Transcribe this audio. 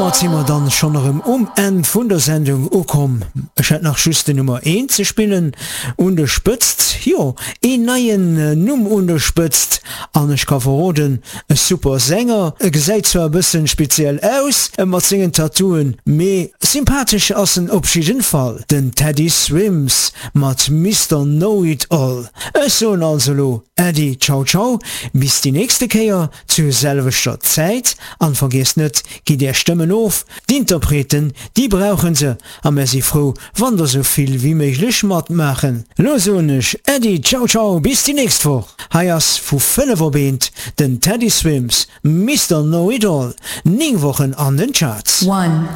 Domat si mer dann schonn erëm um Enn vun der Sendung ukomm. Ech hätt nach just den Nummer eent ze spillen un der Spëtzt. Jo, een neien Numm un der Spëtzt an ech ka verroden, e super Sänger. E gesäit zwar e bëssen speziell aus mat sengen Tattooen, mee sympathesch ass en op jidden Fall, den Teddy Swims mat Mister Know It All. Ech soen also lo Äddi, ciao ciao, bis déi nächste Kéier zur selwechter Zäit an vergiesst net, gitt är Stëmmen of, d'Interpreten déi brauchen se a mär si frou wann der sou vill wéi méiglech matmaachen. Lo soen ech Äddi, ciao ciao, bis déi nächst Woch. Hei ass vu 5 op eent den Teddy Swims, Mister Know It All, 9 Wochen an den Charts. One.